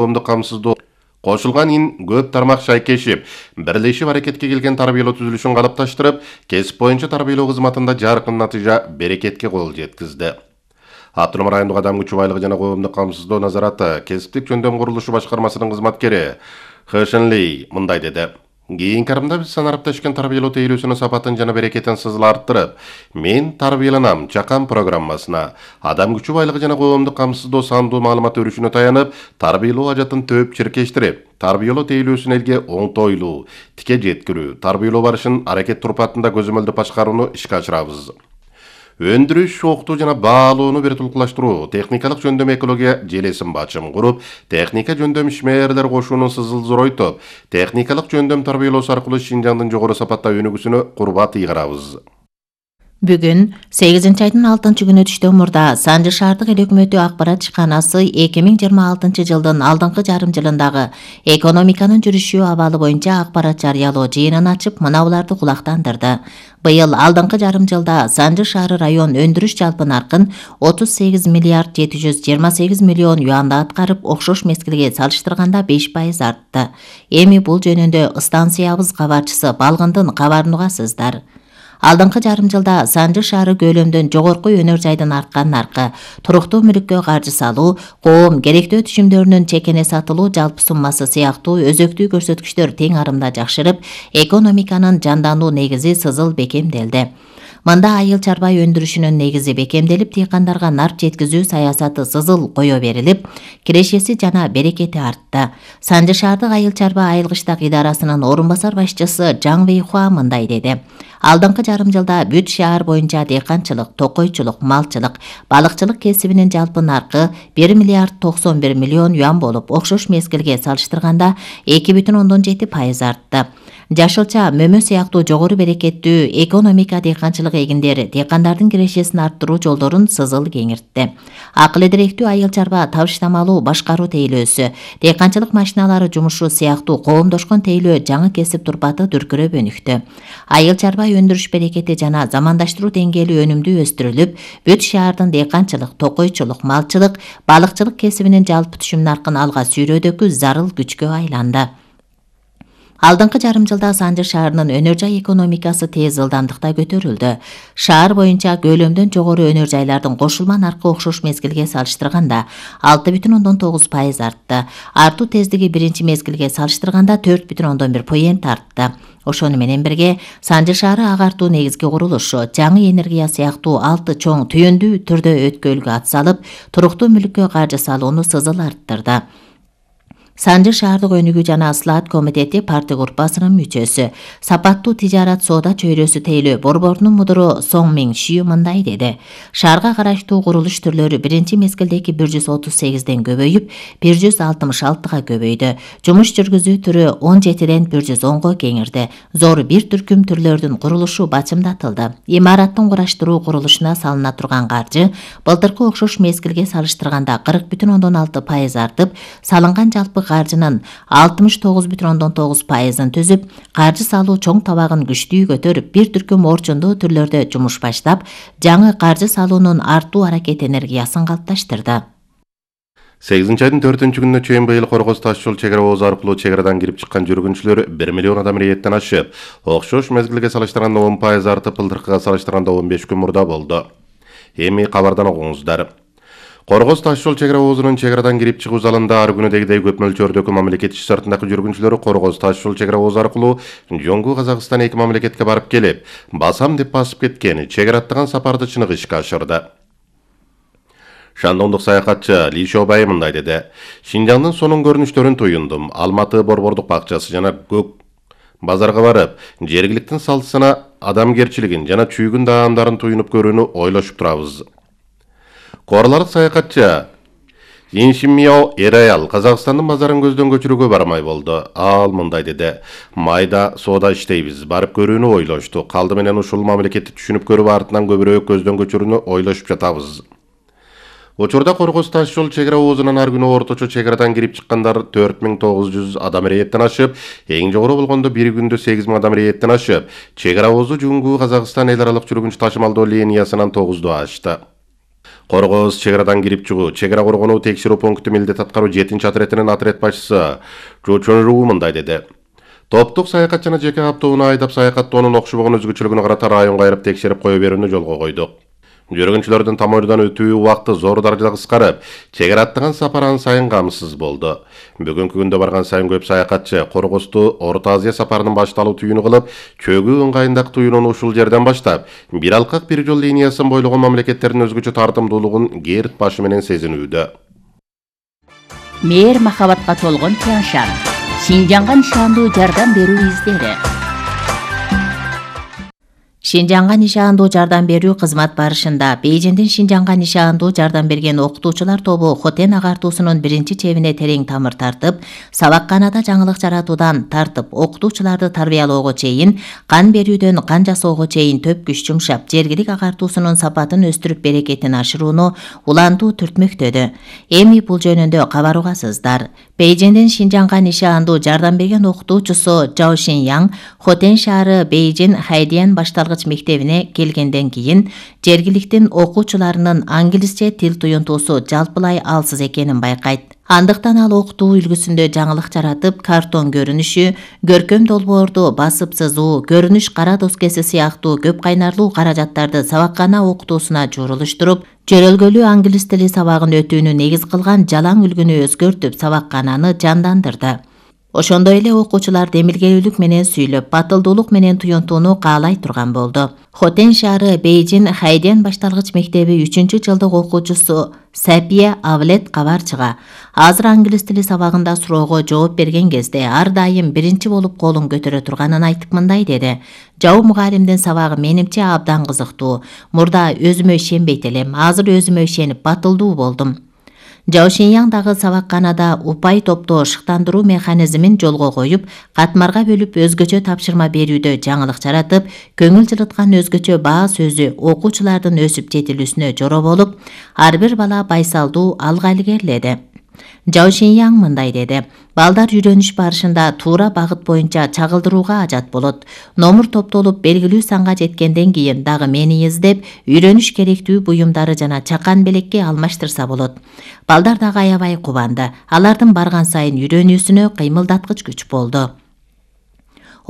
коомдук камсыздоо кошулган көп тармак шайкешип, бирлешип аракетке келген тарбиялоо түзүлүшүн калыпташтырып, кесип боюнча тарбиялоо кызматында жаркын натыйжа берекетке кол жеткизди. Автоном райондук адам күчү байлыгы жана коомдук камсыздоо назараты кесиптик жөндөм курулушу башкармасынын кызматкери Хэшенли мындай деди. Кийинки арымда биз санарапташкан тарбиялоо тейлөөсүнүн сапатын жана берекетин сызыл арттырып, мен тарбияланам чакан программасына адам күчү байлыгы жана коомдук камсыздоо сандуу маалымат өрүшүнө таянып, тарбиялоо ажатын төп чиркештирип, тарбиялоо тейлөөсүн элге оңтойлуу, тике жеткирүү, тарбиялоо барышын аракет турпатында көзөмөлдөп башкарууну ишке ашырабыз. Өндүрүш, окутуу жана баалоону бир тулкулаштыруу, техникалык жөндөм экология желесин бачым куруп, техника жөндөм ишмерлер кошуунун сызыл зоройтуп, техникалык жөндөм тарбиялоосу аркылуу Шинжаңдын жогору сапатта өнүгүүсүнө курбат ыйгарабыз. Бүгүн 8-айдын 6-күнү түштөн мурда Санжы шаардык эл өкмөтү акпарат ишканасы 2026 жылдын алдыңкы жарым жылындагы экономиканын жүрүшү абалы боюнча акпарат жарыялоо жыйынын ачып, мынабуларды кулактандырды. Быйыл алдыңкы жарым жылда Санжы шаары район өндүрүш жалпы наркын 38 миллиард 728 миллион юанды аткарып, окшош мезгилге салыштырганда 5% артты. Эми бул жөнүндө станциябыз кабарчысы Балгындын кабарын угасыздар. Алдыңкы жарым жылда Санжы шаары көлөмдөн жогорку өнөр жайдын арткан наркы, туруктуу мүлүккө каржы салуу, коом керектөө түшүмдөрүнүн чекене сатылуу жалпы суммасы сыяктуу өзөктүү көрсөткүчтөр тең арымда жакшырып, экономиканын жандануу негизи сызыл бекемделди. Мында айыл чарба өндүрүшүнүн негизи бекемделип, дыйкандарга нарп жеткизүү саясаты сызыл кое берилип, кирешеси жана берекети артты. Санжы шаардык айыл чарба айылгычтак идарасынын орун басар башчысы Жаң Вэйхуа мындай деди. Алдыңкы жарым жылда бүт шаар боюнча дыйканчылык, токойчулук, малчылык, балыкчылык кесибинин жалпы наркы 1 миллиард 91 миллион юан болуп, окшош мезгилге салыштырганда 2,7% артты. Жашылча, мөмө сыяктуу жогору берекеттүү экономика дыйканчылык эгиндери дыйкандардын кирешесин арттыруу жолдорун сызыл кеңиртти. Акыл эдиректүү айыл чарба табыштамалуу башкаруу тейлөөсү, дыйканчылык машиналары жумушу сыяктуу коомдошкон тейлөө жаңы кесип турпаты дүркүрөп өнүктү. Айыл чарба өндүрүш берекети жана замандаштыруу деңгээли өнүмдүү өстүрүлүп, бүт шаардын дыйканчылык, токойчулук, малчылык, балыкчылык кесибинин жалпы түшүм наркын алга сүйрөөдөгү зарыл күчкө айланды. Алдыңкы жарым жылда Санжы шаарынын өнөр жай экономикасы тез ылдамдыкта көтөрүлдү. Шаар боюнча көлөмдөн жогору өнөр жайлардын кошулма наркы окшош мезгилге салыштырганда 6,9% артты. Артуу тездиги биринчи мезгилге салыштырганда 4,1% артты. Ошону менен бирге Санжы шаары агартуу негизги курулушу, жаңы энергия сыяктуу 6 чоң түйүндүү түрдө өткөлгө атсалып, туруктуу мүлүккө каржы салууну сызыл арттырды. Санжы шаардык өнүгүү жана ыслаат комитети партия группасынын мүчөсү, сапаттуу тижарат соода чөйрөсү тейлөө борборунун мудуру Соң Миң Шүү мындай деди. Шаарга караштуу курулуш түрлөрү биринчи мезгилдеги 138ден көбөйүп, 166га көбөйдү. Жумуш жүргүзүү түрү 17ден 110го кеңирди. Зор бир түркүм түрлөрдүн курулушу бачымдатылды. Имараттын кураштыруу курулушуна салына турган каржы былтыркы окшош мезгилге салыштырганда 40,6% артып, салынган жалпы каржынын 69,9%ын түзүп, каржы салуу чоң табагын күчтүү көтөрүп, бир түркүм орчундуу түрлөрдө жумуш баштап, жаңы каржы салуунун артуу аракет энергиясын калыпташтырды. 8-айдын 4-күнүнө чейин быйыл Коргоз таш жол чек ара оозу аркылуу чек арадан кирип чыккан жүргүнчүлөр 1 миллион адам рейеттен ашып, окшош мезгилге салыштырганда 10% артып, былтыркыга салыштырганда 15 күн мурда болду. Эми кабардан окуңуздар. Коргоз таш жол чек ара оозунун чек арадан кирип чыгуу залында ар күнүдегидей көп мөлчөрдөгү мамлекет иш шартындагы жүргүнчүлөр Коргоз таш жол чек ара оозу аркылуу Жоңгу Казакстан эки мамлекетке барып келип, басам деп басып кеткен чек ара аттаган сапарды чыныгы ишке ашырды. Шандондук саякатчы Ли Шобай мындай деди. Шинжаңдын сонун көрүнүштөрүн туюндум. Алматы борбордук бакчасы жана Көк базарга барып, жергиликтин салтысына адамгерчилигин жана чүйгүн даамдарын туюнуп көрүүнү ойлошуп турабыз. Корларлык саякатчы Иншин Мияо Эраял Казакстандын базарын көздөн көчүрүүгө бармай болду. Ал мындай деди. Майда соода иштейбиз, барып көрүүнү ойлоштук. Калды менен ушул мамлекетти түшүнүп көрүп, артынан көбүрөөк көздөн көчүрүүнү ойлошуп жатабыз. Учурда Коргоз таш жол чек ара оозунан ар күнү орточо чек арадан кирип чыккандар 4900 адам рейеттен ашып, эң жогору болгондо бир күндө 8000 адам рейеттен ашып, чек ара оозу Жоңгу Казакстан эл аралык жүргүнчү ташымалдоо линиясынан 9ду ашты. Коргоз чек арадан кирип чыгуу, чек ара коргонуу текшерүү пункту милдет аткаруу 7-отрядынын отряд башчысы Чу Чонру мындай деди. Топтук саякатчыны жеке автоунаа айдап саякаттоонун окшобогон өзгөчөлүгүнө карата районго айрып текшерип кое берүүнү жолго койдук. Жүргүнчүлөрдүн тамойдон өтүү убакыты зор даражада кыскарып, чек ара аттаган сапар ан сайын камсыз болду. Бүгүнкү күндө барган сайын көп саякатчы Коргозду Орто Азия сапарынын башталуу түйүнү кылып, чөгүү ыңгайындагы түйүнүн ушул жерден баштап, бир алкак бир жол линиясын бойлогон мамлекеттердин өзгөчө тартымдуулугун Герт башы менен сезинүүдө. Мээр махабатка толгон Тяншан, Шинжаңга нишандуу жардам берүү издери. Шинжаңга нишандуу жардам берүү кызмат барышында Бейжиңдин Шинжаңга нишандуу жардам берген окутуучулар тобу Хотен агартуусунун биринчи чебине терең тамыр тартып, сабакканада жаңылык жаратуудан тартып, окутуучуларды тарбиялоого чейин, кан берүүдөн кан жасоого чейин төп күч жумшап, жергилик агартуусунун сапатын өстүрүп берекетин ашырууну улантуу түртмөктөдү. Эми бул жөнүндө кабар угасыздар. Бейжиңдин Шинжаңга нишандуу жардам берген окутуучусу Жао Шиньяң Хотен шаары Бейжиң Хайдиан башталгыч мектебине келгенден кийин жергиликтин окуучуларынын англисче тил туюнтуусу жалпылай алсыз экенин байкайт. Андыктан ал окутуу үлгүсүндө жаңылык жаратып, картон көрүнүшү, көркөм долбоорду басып сызуу, көрүнүш кара доскеси сыяктуу көп кайнарлуу каражаттарды сабаккана окутуусуна журулуштуруп, жөрөлгөлүү англис тили сабагын өтүүнү негиз кылган жалаң үлгүнү өзгөртүп, сабаккананы жандандырды. Ошондой эле окуучулар демилгелүүлүк менен сүйлөп, батылдуулук менен туюнтууну каалай турган болду. Хотен шаары Бейжиң Хайдиан башталгыч мектеби 3-жылдык окуучусу Сапия Авлет кабар чыга. Азыр англис тили сабагында суроого жооп берген кезде ар дайым биринчи болуп колун көтөрө турганын айтып мындай деди. Жау мугалимдин сабагы менимче абдан кызыктуу. Мурда өзүмө ишенбейт элем, азыр өзүмө ишенип батылдуу болдум. Жао Шиньяң дагы сабакканада упай топтоо шыктандыруу механизмин жолго коюп, катмарга бөлүп өзгөчө тапшырма берүүдө жаңылык жаратып, көңүл жылыткан өзгөчө баа сөзү окуучулардын өсүп жетилүүсүнө жоро болуп, ар бир бала байсалдуу алга илгериледи. Жао Шиньяң мындай деди. Балдар үйрөнүш барышында туура багыт боюнча чагылдырууга ажат болот. Номур топтолуп белгилүү санга жеткенден кийин дагы мени издеп, үйрөнүш керектүү буюмдары жана чакан белекке алмаштырса болот. Балдар дагы аябай кубанды. Алардын барган сайын үйрөнүүсүнө кыймылдаткыч күч болду.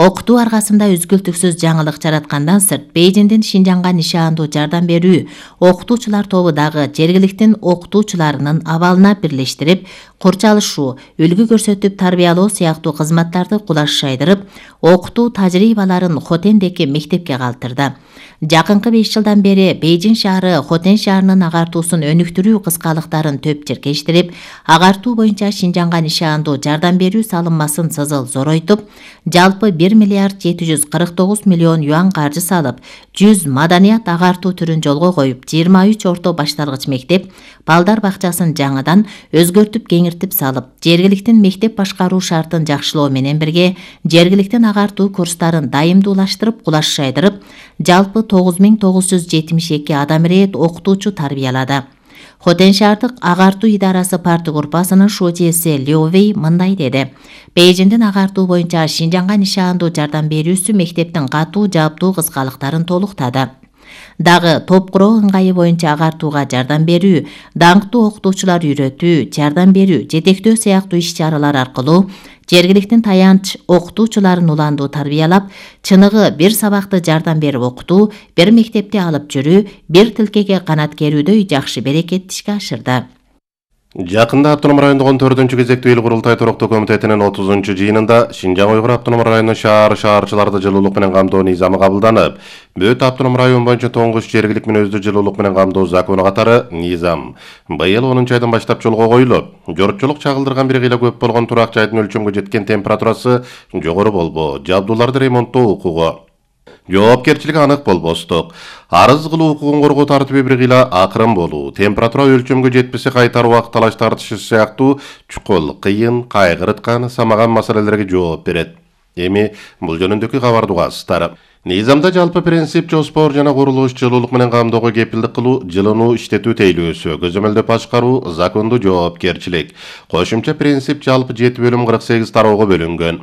Окутуу аргасында үзгүлтүксүз жаңылык жараткандан сырт, Бейжиңдин Шинжаңга нишандуу жардам берүү окутуучулар тобу дагы жергиликтин окутуучуларынын абалына бирлештирип, курчалышуу, үлгү көрсөтүп тарбиялоо сыяктуу кызматтарды кулаш шайдырып, окутуу тажрыйбаларын Хотендеки мектепке калтырды. Жакынкы 5 жылдан бери Бейжиң шаары Хотен шаарынын агартуусун өнүктүрүү кыскалыктарын төп черкештирип, агартуу боюнча Шинжаңга нишандуу жардам берүү салынмасын сызыл зоройтуп, жалпы 1 миллиард 749 миллион юан каржы салып, 100 маданият агартуу түрүн жолго коюп, 23 орто башталгыч мектеп, балдар бакчасын жаңыдан өзгөртүп кеңиртип салып, жергиликтин мектеп башкаруу шартын жакшылоо менен бирге, жергиликтин агартуу курстарын дайымдуулаштырып, кулаш шайдырып, жалпы 9972 адам ирет окутуучу тарбиялады. Хотен шаардык агартуу идарасы парты группасынын шуучеси Лиу Вэй мындай деди. Бейжиңдин агартуу боюнча Шинжаңга нишандуу жардам берүүсү мектептин катуу жааптуу кызгалыктарын толуктады. Дагы топ куроо ыңгайы боюнча агартууга жардам берүү, даңктуу окутуучулар үйрөтүү, жардам берүү, жетектөө сыяктуу иш-чаралар аркылуу жергиликтин таянч окутуучуларын уландуу тарбиялап, чыныгы бир сабакты жардам берип окутуу, бир мектепте алып жүрүү, бир тилкеге канат керүүдөй жакшы берекетти ишке ашырды. Жакында Автоном райондук 14-чү кезектүү эл курултай туруктуу комитетинин 30-чу жыйынында Шинжаң Уйгур автоном районунун шаарчыларды жылуулук менен камдоо низамы кабылданып, Бөт автоном район боюнча тоңгуч жергилик мүнөздүү жылуулук менен камдоо закону катары низам быйыл 10 айдан баштап жолго коюлуп, жортчулук чагылдырган бир кыйла көп болгон турак жайдын өлчөмгө жеткен температурасы жогору болбоо, жабдууларды ремонттоо укугу, жоопкерчилиги анык болбостук, арыз кылуу укугун коргоо тартиби бир кыйла акырын болуу, температура өлчөмгө жетпесе кайтар убак талаш тартышы сыяктуу чукул, кыйын, кайгырткан, самаган маселелерге жооп берет. Эми бул жөнүндөгү кабарды угасыздар. Низамда жалпы принцип жоспор жана курулуш жылуулук менен камдоого кепилдик кылуу, жылынуу иштетүү тейлөөсү, көзөмөлдөп башкаруу, закондуу жоопкерчилик. Кошумча принцип жалпы 7 бөлүм 48 тароого бөлүнгөн.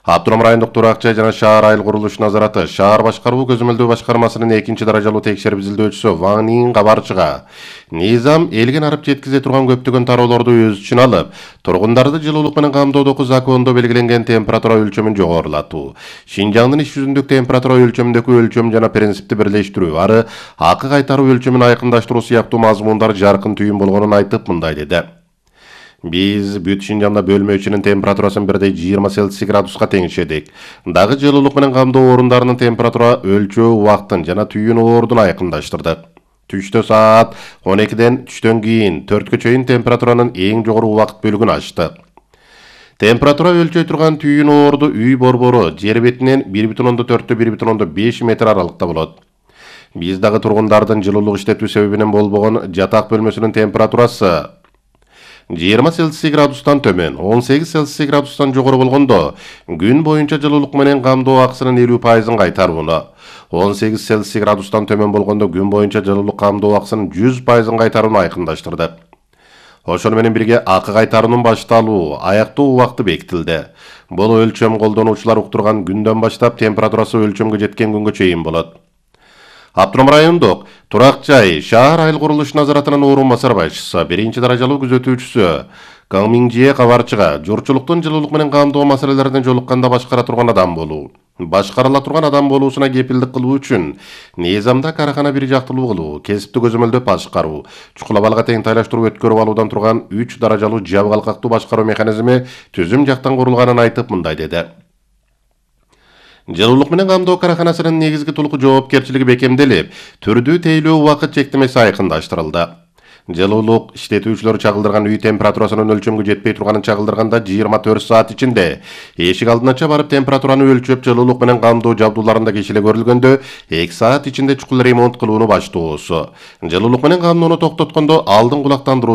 Автоном райондук турак жай жана шаар айыл курулуш назараты шаар башкаруу көзөмөлдөө башкармасынын 2-даражалуу текшерип изилдөөчүсү Ван Ин кабарчыга Низам элген арып жеткизе турган көптөгөн тароолорду өз үчүнө алып, тургундарды жылуулук менен камтоодогу закондо белгиленген температура өлчөмүн жогорулатуу, Шинжаңдын иш жүзүндөгү температура өлчөмүндөгү өлчөм жана принципти бирлештирүү ары акы кайтаруу өлчөмүн айкындаштыруу сыяктуу мазмундар жаркын түйүн болгонун айтып мындай деди. Биз бүт Шинжаңда бөлмө ичинин температурасын бирдей 20 Цельсий градуска теңишедик. Дагы жылуулук менен камдоо орундарынын температура өлчөө убактын жана түйүн ордун айкындаштырдык. Түштө саат 12ден түштөн кийин 4кө чейин температуранын эң жогору убакыт бөлүгүн ачты. Температура өлчөй турган түйүн орду үй борбору жер бетинен 1,4-1,5 метр аралыкта болот. Биз дагы тургундардын жылуулук иштетүү себебинен болбогон жатак бөлмөсүнүн температурасы 20 Цельсий градустан төмөн, 18 Цельсий градустан жогору болгондо, күн боюнча жылуулук менен камдоо акысынын 50%-ын кайтарууну, 18 Цельсий градустан төмөн болгондо күн боюнча жылуулук камдоо акысынын 100%-ын кайтарууну айкындаштырды. Ошону менен бирге акы кайтаруунун башталуу, аяктоо убакыты бекитилди. Бул өлчөм колдонуучулар уктурган күндөн баштап температурасы өлчөмгө жеткен күнгө чейин болот. Автоном райондук турак жай шаар айыл курулуш назаратынын орун басар башчысы 1-даражалуу күзөтүүчүсү Кang Минжие кабарчыга журтчулуктун жылуулук менен камдоо маселелерине жолукканда башкара турган адам болуу, башкарыла турган адам болуусуна кепилдик кылуу үчүн Низамда карахана бир жактылуу кылуу, кесипти көзөмөлдөп башкаруу, чукул абалга тең тайлаштыруу өткөрүп алуудан турган 3-даражалуу жабгалкактуу башкаруу механизми түзүм жактан курулганын айтып мындай деди. Жылуулук менен камдоо караханасынын негизги тулку жоопкерчилиги бекемделип, түрдүү тейлөө убакыт чектемеси айкындаштырылды. Жылуулук иштетүүчүлөр чагылдырган үй температурасынын өлчөмгө жетпей турганын чагылдырганда 24 саат ичинде эшик алдынача барып температураны өлчөп жылуулук менен камдоо жабдууларында кечиле көрүлгөндө 2 саат ичинде чукул ремонт кылууну баштоосу. Жылуулук менен камдоону токтоткондо алдын кулактандыруу